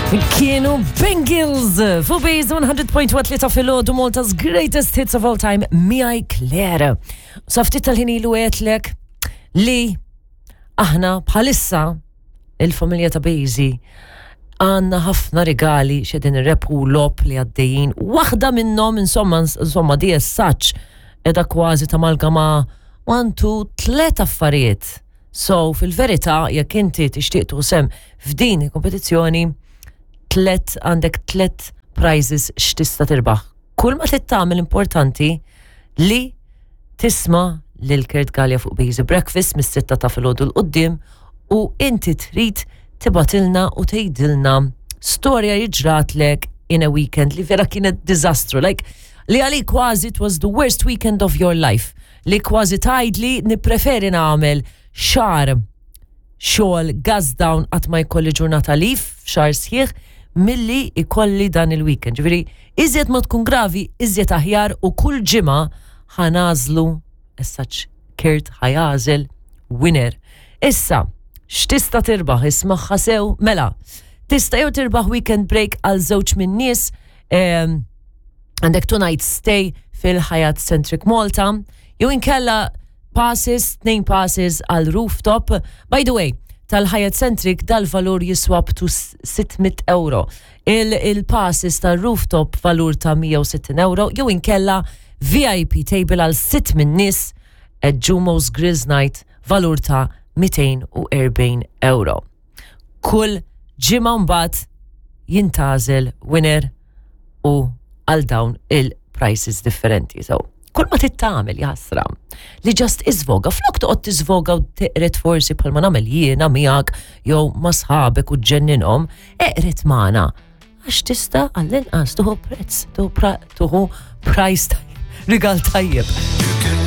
Kienu Bengals fuq Base 100.1 ta' filgħodu Malta's greatest hits of all time miegħi Claire. Sa ftit tal-ħin ilu għedtlek li aħna bħalissa il-familja ta' Bejzi għanna ħafna rigali xedin repu lop li għaddejjin. Waħda minnhom insomma insomma di as such edha kważi ta' malgama 1 2 tlet affarijiet. So fil-verità jekk inti tixtieq tuħsem f'din il-kompetizzjoni tlet għandek tlet prizes x'tista' tirbaħ. Kull ma trid tagħmel importanti li tisma' lil Kurt Galea fuq Busy Breakfast mis-sitta ta' filgħodu 'l quddiem u inti trid tibgħatilna u tgħidilna storja li ġratlek in a weekend li vera kienet diżastru, like li għalik kważi it was the worst weekend of your life, li kważi tgħidli nippreferi nagħmel xahar xogħol gas down qatt ma jkolli ġurnata leave f'xahar sħiħ milli jkolli dan il-weekend. Ġifieri, iżjed ma tkun gravi, iżjed aħjar u kull ġimgħa ħa nagħżlu as such Kurt ħa jagħżel winner. Issa, x'tista' tirbaħ ismagħha sew? Mela, tista' jew tirbaħ weekend break għal żewġ min-nies ehm, għandek two night stay fil-Hyatt Centric Malta, jew inkella passes, tnejn passes għal rooftop. By the way, tal-Hyatt Centric dal-valur jiswa up to 600 euro. Il-passes tal-rooftop valur ta' 160 euro, jew inkella VIP table għal sitt minn nies at Jumo's Grills Night valur ta' 240 euro. Kull ġimgħa mbagħad jintgħażel winner u għal dawn il-prices differenti. So, kull ma trid tagħmel jaħasra li just iżvoga, flok toqgħod tiżvoga u teqret forsi bħalma nagħmel jiena miegħek jew ma' sħabek u ġġenninhom, eqret magħna għax tista' għall-inqas tuħu prezz, tuħu price rigal tajjeb.